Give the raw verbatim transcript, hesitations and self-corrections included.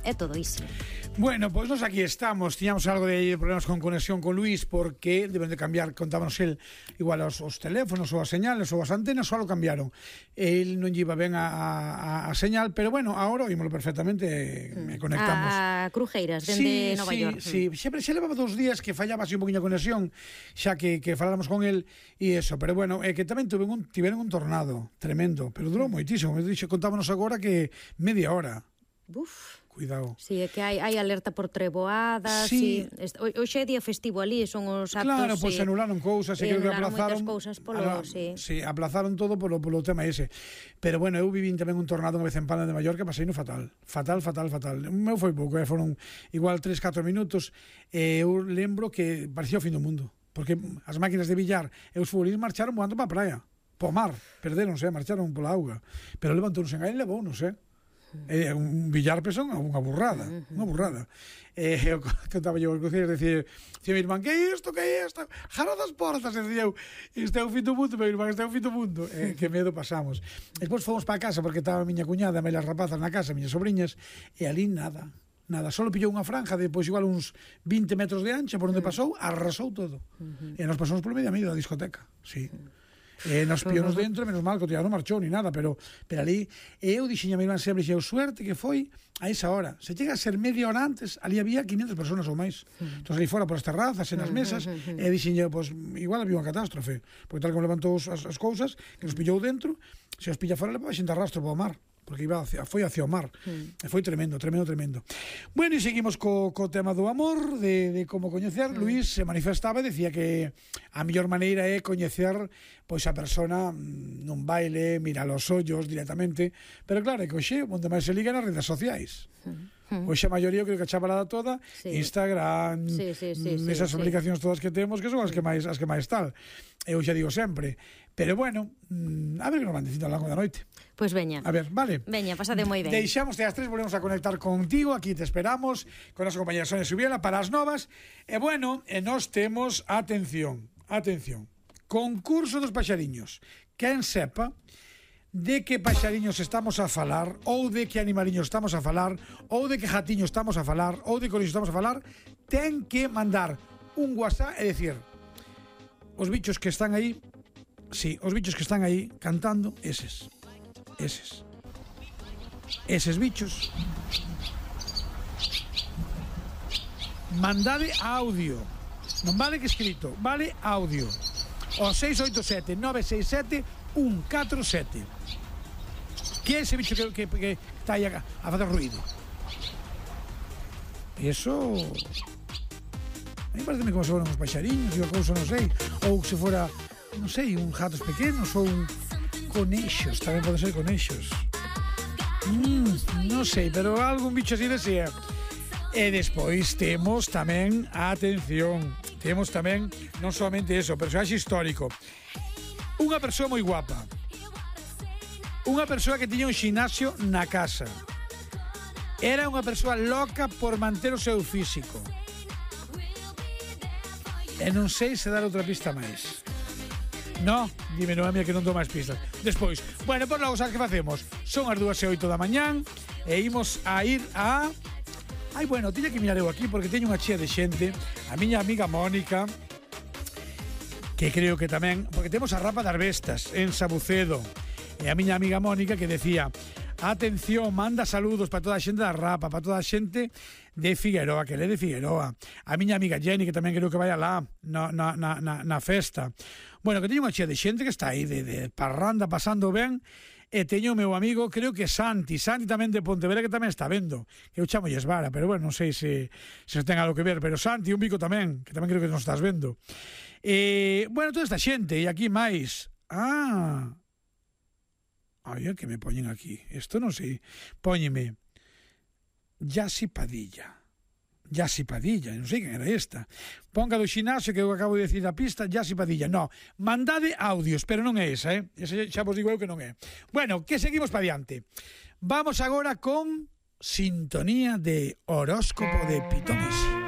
é todo iso. Bueno, pois pues nos aquí estamos. Tiñamos algo de problemas con conexión con Luis porque deben de cambiar, contábanos el igual os, os teléfonos ou as señales ou as antenas, só lo cambiaron. El non lleva ben a, a, a señal, pero bueno, agora oímoslo perfectamente e mm. conectamos. A Crujeiras, dende sí, Nova sí, York. Sí, mm. sempre se levaba dos días que fallaba así un poquinho a conexión, xa que, que faláramos con el e eso, pero bueno, é que tamén tuve un, tiveron un tornado tremendo, pero durou moitísimo. Me dixo, contábanos agora que media hora. Buf. Cuidado. Si, sí, é que hai, hai alerta por treboadas. Sí. Si, hoxe é día festivo ali, son os actos. Claro, pois pues, anularon cousas, e creo que aplazaron cousas polo, ala, sí. sí, aplazaron todo polo, polo tema ese. Pero bueno, eu vivín tamén un tornado unha vez en Palma de Mallorca, pasei no fatal. Fatal, fatal, fatal. O meu foi pouco, eh? Foron igual tres, catro minutos. E eu lembro que parecía o fin do mundo. Porque as máquinas de billar e os futbolistas marcharon voando para a praia. Po mar, perderonse, marcharon pola auga. Pero levantóronse en aí e levounos, eh? Eh, un billar pesón, unha burrada, unha burrada. Eh, eu contaba yo os cociños, decía, decía mi irmán, que é isto, que é isto? Jaro das portas, decía eu, este é o fin do mundo, meu irmán, este é o fin do mundo. Eh, que medo pasamos. Despois fomos para casa, porque estaba a miña cuñada, e as rapazas na casa, miñas sobrinhas, e ali nada, nada, solo pillou unha franja de, pois, igual uns vinte metros de ancha, por onde pasou, arrasou todo. E nos pasamos polo medio a medio da discoteca, sí. Eh, nos pionos dentro, menos mal que o tío non marchou ni nada, pero pero ali eu dixen a mi irmán sempre, dixen, suerte que foi a esa hora, se chega a ser media hora antes, ali había quinientas personas ou máis. Entón ali fora por as terrazas, en as mesas, e dixen eu, pois, igual había unha catástrofe, porque tal como levantou as, as cousas, que nos pillou dentro, se os pilla fora, le pode xente arrastro para o mar, porque iba hacia, foi hacia o mar. Mm. E foi tremendo, tremendo, tremendo. Bueno, e seguimos co, co tema do amor, de, de como coñecer. Mm. Luís se manifestaba e decía que a mellor maneira é coñecer pois a persona nun baile, mirar os ollos directamente, pero claro, é que hoxe onde máis se liga nas redes sociais. Mm. Hoxe a maioría, creo que a chavalada toda, sí. Instagram, sí, sí, sí, esas sí, aplicacións sí. todas que temos, que son as que máis as que máis tal. Eu xa digo sempre. Pero bueno, a ver que nos van dicindo ao longo da noite. Pois pues veña. A ver, vale. Veña, pasade moi ben. Deixamos as tres, volvemos a conectar contigo, aquí te esperamos, con a nosa compañera Sonia Subiela para as novas. E bueno, e nós temos, atención, atención, concurso dos paxariños. Quen sepa de que paxariños estamos a falar, ou de que animaliños estamos a falar, ou de que jatiño estamos a falar, ou de coriño estamos a falar, ten que mandar un WhatsApp e decir, os bichos que están aí, sí, os bichos que están aí cantando, eses, eses, eses bichos, mandade audio, non vale que escrito, vale audio, o seis oito sete nove seis sete un catro sete. Que é ese bicho que, que, que está aí a, a fazer ruido? Eso... A mí parece como se foran uns paxariños e o couso, non sei, ou se fora, non sei, uns gatos pequenos ou un conexos, tamén pode ser conexos. Mm, non sei, pero algún bicho así desea. E despois temos tamén, atención, temos tamén non solamente eso, personaxe histórico. Unha persoa moi guapa. Unha persoa que tiña un xinasio na casa. Era unha persoa loca por manter o seu físico. E non sei se dar outra pista máis. No, dime, non, a mía que non dou máis pistas. Despois, bueno, por logo, sabes que facemos? Son as dúas e oito da mañán e imos a ir a... Ai, bueno, tiña que mirar eu aquí porque teño unha chea de xente. A miña amiga Mónica, que creo que tamén... Porque temos a Rapa das Bestas en Sabucedo. E a miña amiga Mónica que decía... Atención, manda saludos para toda a xente da Rapa, para toda a xente de Figueroa, que le de Figueroa. A miña amiga Jenny, que tamén creo que vai alá na, na, na, na festa. Bueno, que teño unha chea de xente que está aí de, de parranda, pasando ben. E teño o meu amigo, creo que Santi, Santi tamén de Pontevedra, que tamén está vendo. Que eu chamo Esvara, pero bueno, non sei se, se ten algo que ver. Pero Santi, un bico tamén, que tamén creo que nos estás vendo. E, bueno, toda esta xente, e aquí máis. Ah... Ai, que me poñen aquí. Isto non sei. Póñeme Yasi Padilla. Yasi Padilla, non sei quen era esta. Ponga do xinasio que eu acabo de decir a pista, Yasi Padilla. No, mandade audios, pero non é esa, eh? Esa xa vos digo eu que non é. Bueno, que seguimos para diante. Vamos agora con sintonía de horóscopo de Pitonesi.